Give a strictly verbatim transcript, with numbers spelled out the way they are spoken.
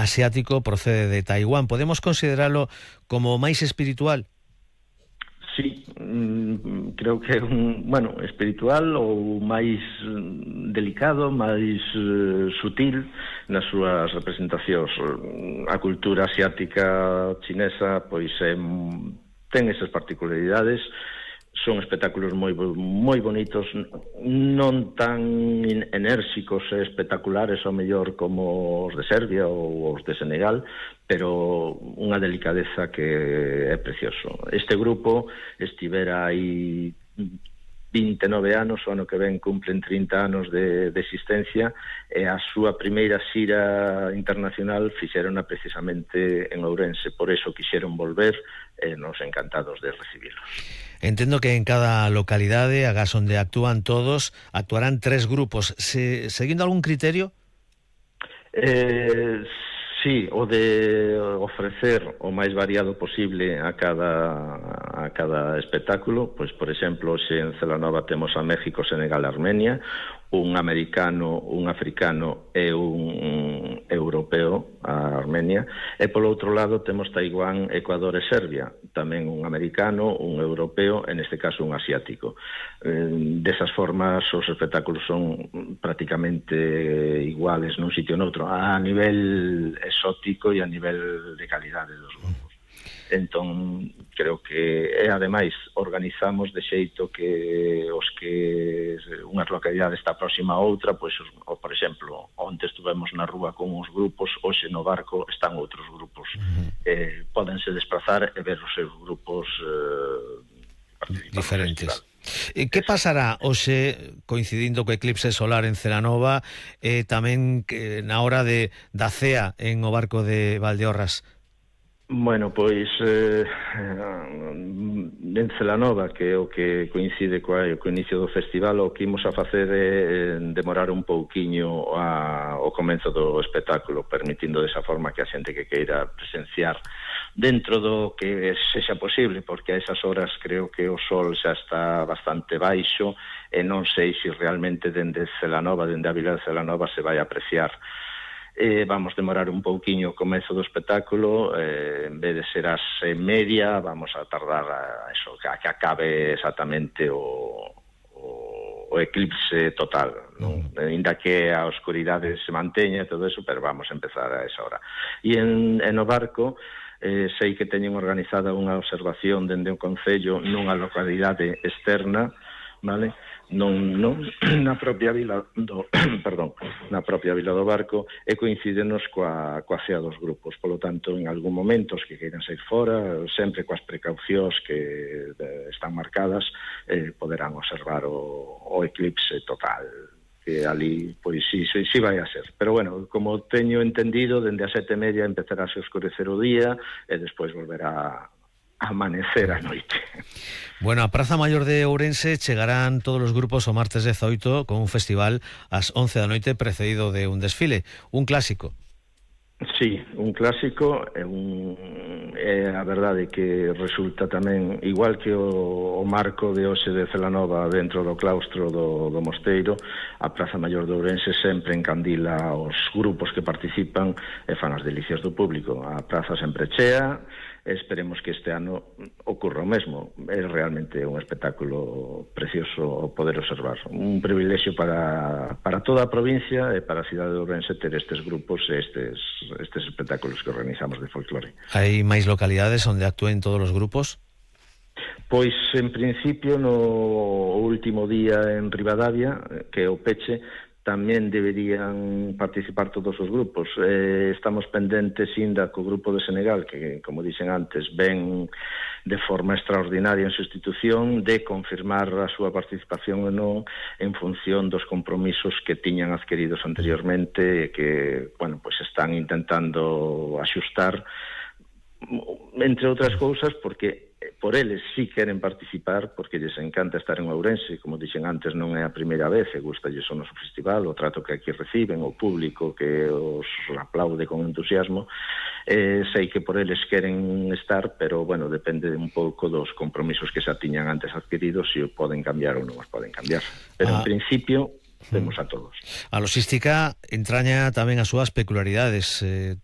asiático, procede de Taiwán. Podemos consideralo como máis espiritual? Sí, creo que é un, bueno, espiritual ou máis delicado, máis uh, sutil nas súas representacións. A cultura asiática chinesa pois é, ten esas particularidades. Son espectáculos moi moi bonitos, non tan enérxicos e espectaculares ao mellor como os de Serbia ou os de Senegal, pero unha delicadeza que é precioso. Este grupo estivera aí vinte e nove anos, o ano que ven cumplen trinta anos de, de existencia, e a súa primeira xira internacional fixerona precisamente en Ourense, por eso quixeron volver e nos encantados de recibilos. Entendo que en cada localidade, agás onde actúan todos, actuarán tres grupos. Se, seguindo algún criterio? Eh, sí, o de ofrecer o máis variado posible a cada a cada espectáculo. Pois, por exemplo, se en Celanova temos a México, Senegal, Armenia, un americano, un africano e un europeo, a Armenia, e polo outro lado temos Taiwán, Ecuador e Serbia, tamén un americano, un europeo, en este caso un asiático. Eh, desas formas os espectáculos son prácticamente iguales nun sitio ou noutro, a nivel exótico e a nivel de calidade dos grupos. Entón, creo que, e ademais, organizamos de xeito que os que unhas localidades está próxima a outra, pois, o, por exemplo, onte estuvemos na rúa con uns grupos, hoxe no barco están outros grupos. Uh-huh. eh, Pódense desplazar e ver os seus grupos eh, diferentes. E que pasará hoxe, coincidindo co eclipse solar en Celanova, e eh, tamén que, na hora de da cea en o barco de Valdeorras? Bueno, pois eh, en Celanova, que é o que coincide coa, co inicio do festival, o que imos a facer é demorar un pouquiño a, o comenzo do espectáculo, permitindo desa forma que a xente que queira presenciar dentro do que sexa posible, porque a esas horas creo que o sol xa está bastante baixo e non sei se realmente dende Celanova, dende a vila de Celanova se vai apreciar. Eh, vamos demorar un pouquiño o comezo do espectáculo, eh, en vez de ser as e media, vamos a tardar a, eso, a que acabe exactamente o, o, o eclipse total, non? Uh-huh. Ainda que a oscuridade se manteña e todo eso, pero vamos a empezar a esa hora. E en, en o barco, eh, sei que teñen organizada unha observación dende o Concello nunha localidade externa, vale? Non, non na propia vila do, perdón, na propia vila do barco, e coincidenos coa, coa cea dos grupos. Polo tanto, en algún momento os que queiran sair fora, sempre coas precaucións que eh, están marcadas, eh, poderán observar o, o eclipse total, que ali, pois, sí, sí, sí vai a ser. Pero, bueno, como teño entendido, dende as sete e media empezará a se oscurecer o día e despois volverá amanecer a noite. Bueno, a Praza Maior de Ourense chegarán todos os grupos o martes dezoito con un festival ás once da noite precedido de un desfile, un clásico. Sí, un clásico, é, un, é a verdade que resulta tamén, igual que o, o marco de hoxe de Celanova dentro do claustro do, do mosteiro, a Praza Maior de Ourense sempre encandila os grupos que participan e fan as delicias do público. A praza sempre chea, esperemos que este ano ocurra o mesmo. É realmente un espectáculo precioso poder observar. Un privilexio para, para toda a provincia e para a cidade de Ourense ter estes grupos e estes, estes espectáculos que organizamos de folclore. Hai máis localidades onde actúen todos os grupos? Pois, en principio, no último día en Ribadavia, que é o peche, tamén deberían participar todos os grupos. Eh, estamos pendentes ainda co grupo de Senegal, que, como dixen antes, ven de forma extraordinaria en sustitución, de confirmar a súa participación ou non en función dos compromisos que tiñan adquiridos anteriormente e que, bueno, pues están intentando axustar, entre outras cousas, porque por eles sí queren participar, porque lles encanta estar en Ourense, como dixen antes, non é a primeira vez, e gustalles o noso festival, o trato que aquí reciben, o público que os aplaude con entusiasmo. Eh, sei que por eles queren estar, pero, bueno, depende un pouco dos compromisos que xa tiñan antes adquiridos, se o poden cambiar ou non os poden cambiar. Pero, ah. en principio, temos a todos. A logística entraña tamén as súas peculiaridades, eh,